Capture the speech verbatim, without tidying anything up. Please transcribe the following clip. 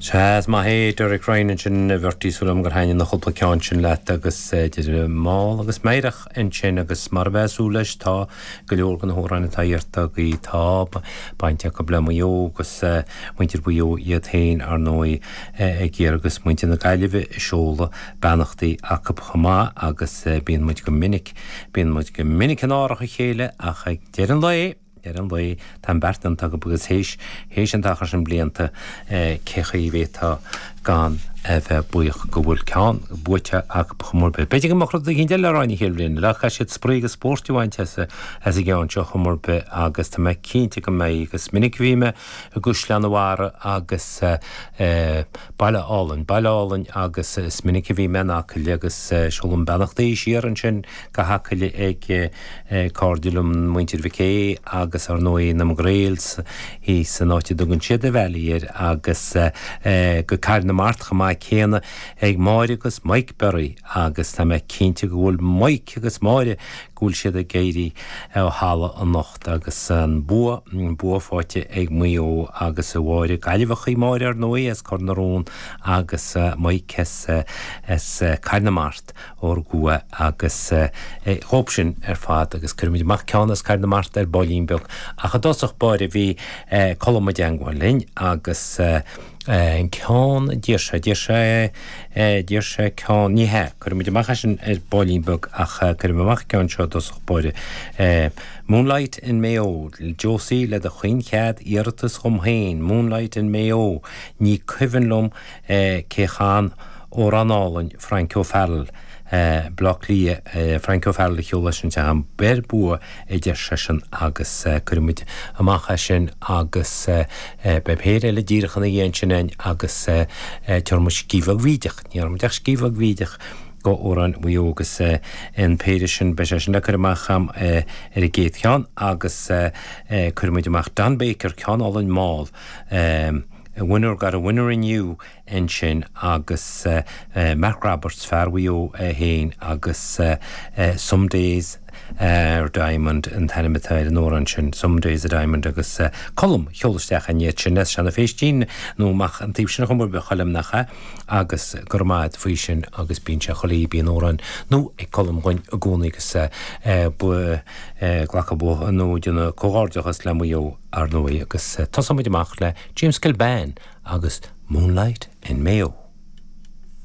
Sea, is maith é Derek Ryan ansin, a Bhertie, súil agam gur thaitnigh na cúpla ceann sin leat agus idir mall agus meidhreach ansin agus mar a bheifeá ag súil leis tá go leor de na hamhráin atá iarrta agaibh, tá baint acu le Maigh Eo agus muintir Mhaigh Eo iad féin ar ndóigh ag iarraidh agus muintir na Gaillimhe ag seoladh beannachtaí acu chomh maith agus bíonn muid go minic, bíonn muid go minic in árach a chéile ach ag deireadh an lae, ar an lae, tá an beart déanta acu agus théis, théis an t-achar sin blianta, cé chaoi a bhféadfá gan a bheith buíoch go bhfuil ceann buaite acu chomh mór bith. B'fhéidir go mbeadh rud éicint eile le rá an chéad bhliain eile ach caithfidh siad spraoi agus spórt a bhaint as, as an gceann seo chomh mór bith agus tá mé cinnte go mbeidh agus minic a bhí mé i gCaisleán an Bharraigh agus eh, baile álainn, baile álainn agus is minic a bhí mé in Acaill agus seolaim beannachtaí siar ansin go hAcaill ag cairde liom, muintir Mhic Aodha agus ar ndóigh na McGrails thíos san áit a dtugann siad The Valley air agus go Cathair na Mart chomh maith céanna ag Máire agus Mike Berry agus tá mé cinnte go bhfuil Mike agus Máire go bhfuil siad ag éirí ó thalamh anocht agus an bua, an bua faighte ag Maigh Eo agus a Mháire, Gaillimheach í Máire ar ndóigh as Cor na Rón agus Mike as as Cathair na Mart ó Gua agus dhóibh sin ar fad agus cuirfimid amach ceann as Cathair na Mart ar baillín beag ach i dtosach báire bhí Colm i dteangmháil linn agus an ceann a d'iarr sé, d'iarr sé, d'iarr sé ceann, ní hea, cuirfimid amach é sin ar baillín beag ach cuirfimid amach an ceann seo i dtosach báire. Moonlight in Mayo, Josie le do chaoinchead iarratas dhom féin, Moonlight in Mayo, ní cuimhin liom cé chan amhrán álainn Frank O'Farrell, Baile Átha Cliath, Frank O'Farrell a cheol leis an teach, beir bua a deir seisean agus cuirfimid amach é sin agus beidh péire eile díreach ina dhiaidh ansin againn agus tabharfaidh muid scíth bheag bhídeach, ní dhearna muid ach scíth bheag bhídeach go amhráin Mhaigh Eo agus an péire sin, beidh sé sin le cur amach agam ar an gcéad cheann agus cuirfimid amach Don Baker, ceann álainn mall. A winner got a winner in you ansin agus Mark Roberts, fear Mhaigh Eo é féin agus Some Days are Diamond an t-ainm atá ar an amhrán sin, Some Days a Diamond agus Colm a sheol isteach an iad sin as Seanadh Phéistín nó amach an taobh sin a chum ar bith Choilm nach ea agus go raibh maith agat faoi sin agus bíonn sé chuile oíche bíonn amhrán nua ag Colm dhúinn i gcónaí agus glacadh bua nó déanamh comhghairdeachas le Maigh Eo ar ndóigh agus tosóidh muid amach le James Kilbane agus Moonlight in Mayo.